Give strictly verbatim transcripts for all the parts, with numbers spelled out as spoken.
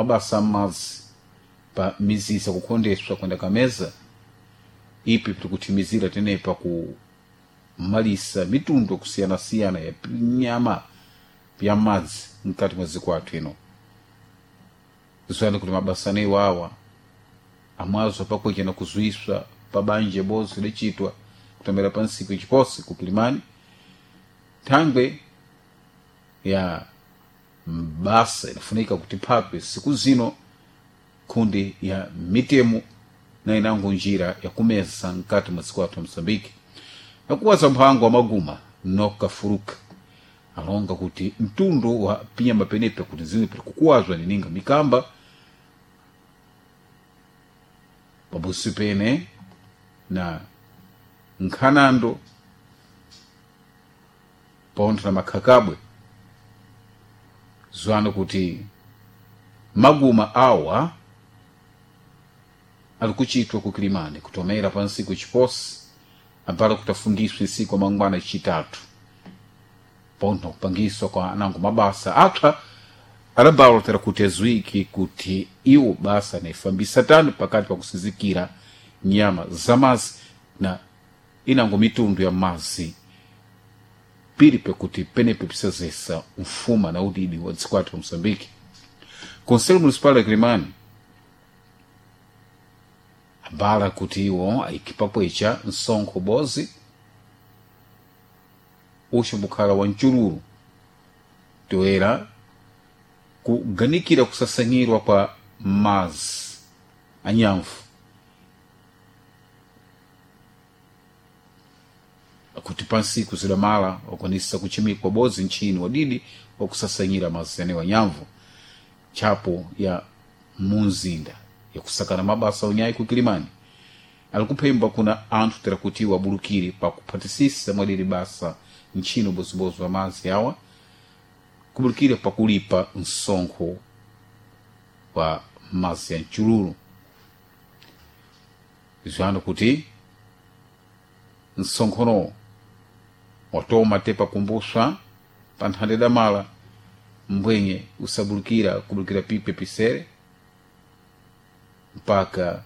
Mabasa amazi pa mizisa kukhondeswa kwenda kameza ipi tikuthimizira tenepa kumalisa mitundu yakusiyanasiyana ya nyama ya madzi mkati mwa dziko athu ino. Zani kuti mabasa anewo awa amwazo pakwecha na kuzuiswa pa banja bozi licitwa kutomera pa ntsiku iciposi ku Kilimani thangwe ya mbasa inafunika kuti phape siku zino kundi ya mitemo na inango njira yakumeza mkati mwa dziko athu Moçambique. Nakuwaza mphango wa maguma nokafuruka alonga kuti mtundu wa pinyama penepe kuti zimwe pili kukuwazwa nininga mikamba pabusi pene na nkhanando pontho na makhakabwe zwano kuti maguma awa ali kuchitwa ku Kilimani kutomera pa ntsiku iciposi ambala kutafungiswa ntsiku mangwana icitatu pontho kupangiswa kwa anango mabasa apsa adabalotera kuti aziwiki kuti iwo basa anayifambisa tani pakati pa kusizikira nyama za mazi na inango mitundu ya mazi pili pekuti penepe pisazesa mfuma na udidi wa dziko athu la Moçambique. Conselho Municipal ya Kilimani ambala kuti iwo ayikipapwecha msonkho bozi uxo bukhala wa mchululu toera kuganikira kusasanyirwa kwa mazi anyamvu kuti pansiku zidamala wakwanisa kuchimikwa bodzi nchini wadidi wakusasanyira mazi anewo anyamvu tchapo ya munzinda yakusakana mabasa onyayi ku Kilimani ali kuphemba kuna anthu tera kuti wabulukire pakuphatisisa mwadiri basa ntchino bozibozi wa mazi awa kubulukire pakulipa msonkho wa mazi ya mchululu zwano kuti msonkhono watoma te pakumbuswa pa nthande damala mbwenye usabulukira kubulukira pipe pisere mpaka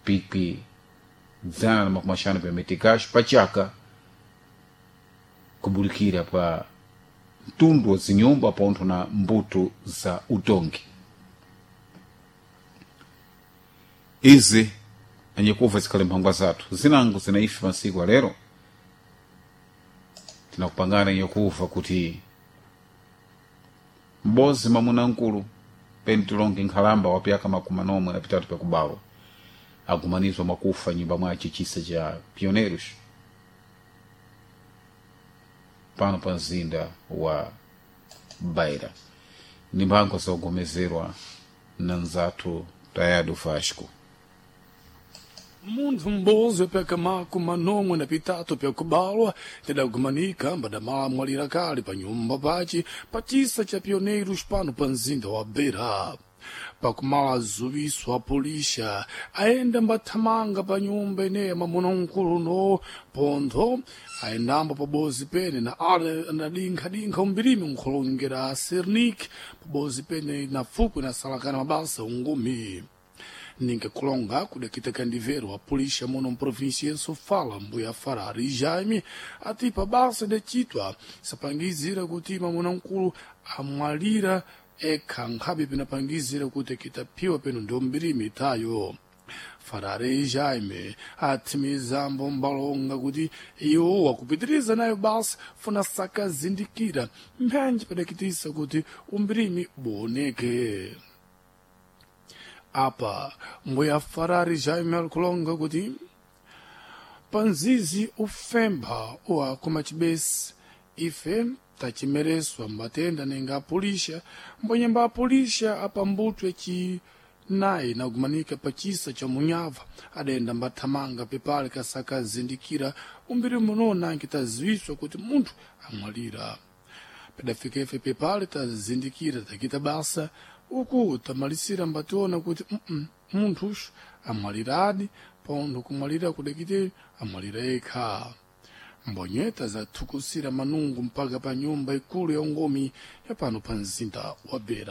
pipi dzana na makumi axanu pa metikaxo pachaka kubulukira pa mtundu wa zinyumba pontho na mbuto za utongi. Izi anyekuva zikhale mphangwa zathu zinango zinaife masiku alero tinakupangana nyakuva kuti m'bozi mwamuna nkulu pentilonge nkhalamba wa pyaka makumi anomwe na pitatu pyakubalwa agumanizwa mwakufa nyumba mwace chisa cha Pioneiros pano pa mzinda wa Beira. Ni mphango zakugomezerwa na nzathu Tayado Vasco. Munthu m'bozi wapyaka makumi manomwe na pitatu pyakubalwa tidagumanika mbadamala mwalira kale pa nyumba pace pa chisa cha Pioneiros pano pa mzinda wa Beira. Pakumala azuwiso a polisha ayenda mbathamanga pa nyumba ineya mwamuna mkulu no pontho ayendambo pabozi pene na ale anadinkha-dinkha umbirimi nkhulongera a Cernic pabozi pene na fukwe na salakana mabasa ungumi. Ninga kulonga kudakita kandivero a polícia muno província em Sofala, mbuya Farari Jaime, ati pabasa de chitwa sapangizira kuti mamuna mkulu amwalira ekha nkhabe pinapangizira kuti kitaphiwa peno ndio mbirimi itayo. Farari Jaime athimizambo mbalonga kuti iwo wakupitiriza nayo basa funa sakazindikira mphanji padakitisa kuti umbirimi buoneke. Apa mbuya Farari Jaime alikulonga kuti panzizi ufempha uwakoma chibesi ife tachimereswa mbatenda nenga apulisha mbwenyemba apulisha apambutwe chi naye nagumanika pa chisa cha munyava adayenda mbathamanga pepale kasakazindikira umbiri muno nanki taziwiswa kuti munthu amwalira. Padafika ife pepale tazindikira takita basa uku tamalisira mbationa kuti mm -mm, munthuxu amwaliradi pontho kumwalira kudakite amwalira yekha. Mbonyeta zathukusira manungu mpaka pa nyumba ikulu ya ungomi ya pano pa mzinda wa Beira.